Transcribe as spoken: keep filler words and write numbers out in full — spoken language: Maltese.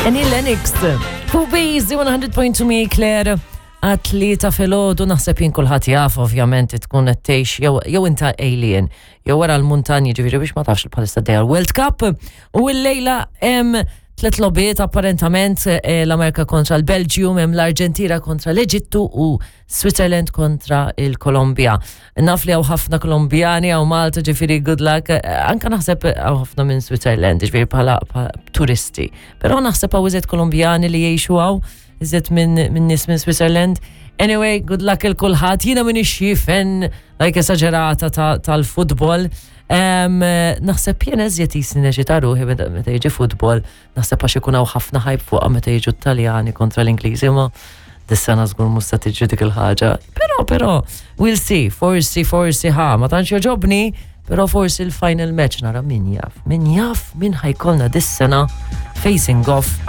Annie Lennox. Fuq Base one hundred point two mi Claire għat-tlieta filgħodu. Naħseb jien kulħadd jaf, ovvjament, tkun qed tgħix jew jew inta alien jew wara l-muntanji, ġifieri biex ma tafx bħalissa dejja l-World Cup u l-lejla hemm tliet logħbiet apparentament, eh, l-Amerika kontra l-Belgium, hemm l-Arġentina kontra l-Eġittu u Switzerland kontra il-Kolombja. Naf li hawn ħafna Kolombjani hawn Malta, ġifieri good luck. Eh, Anka naħseb hawn ħafna minn Switzerland, ġifieri bħala bħala turisti. Però naħseb hawn iżjed Kolombjani li jgħixu hawn, iżjed minn min nies minn Switzerland. Anyway, good luck il kulħadd. Jiena minn fan like esagerata tal-futbol. Um, naħseb jien eżjed jisni neċita ruħi meta meta jiġi futbol, naħseb għax ikun hawn ħafna hype fuqha meta jiġu Taljani kontra l-Ingliżi, ma dis-sena żgur mhux se tiġi dik il-ħaġa. Però, però, we'll see, forsi, forsi ħa, ma tantx joġobni, però forsi l-final match nara, min jaf, min jaf min ħa jkollna dis-sena facing off.